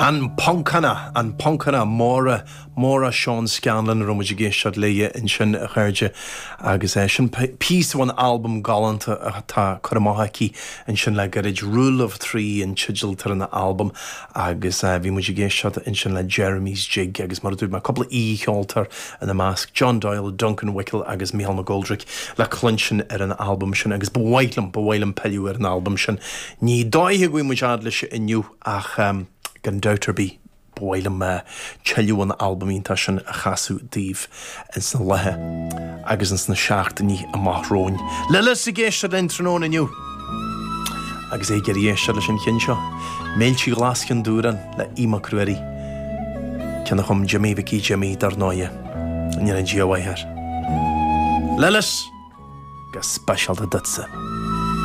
An Poncánach, an Poncánach, Máire, Maura Sean Scanlon a raibh muid ag éisteacht léi ansin, a chairde, agus sin píosa ón albam galánta atá curtha amach aici ansin le gairid, Rule of Three an teideal atá ar an albam agus bhí muid ag éisteacht ansin le Jeremy's Jig agus mar a dúirt mé, cúpla aoi-cheoltóir ina measc, John Doyle, Duncan Wickel agus Mícheál McGoldrick le cluinstin ar an albam sin agus ba mhaith liom, ba mhaith liom pilleadh ar an albam sin. Ní dóiche go bhfaighidh muid fhad leis inniu ach gan dabht ar bith ba mhaith liom tuilleadh an albam iontach sin a chasadh daoibh ins na laetha agus ins na seachtainí amach romhainn. Lillis ag éisteacht linn tráthnóna inniu agus é ag iarraidh éisteacht leis an cheann seo, Méilte Ghlas Chionn Dúrán le Aodh Mac Ruairí, ceann a chum Jimí Mhicí Jimí dar ndóighe, go ndéana Dia a mhaith air. Lillis! Go speisialta duitse.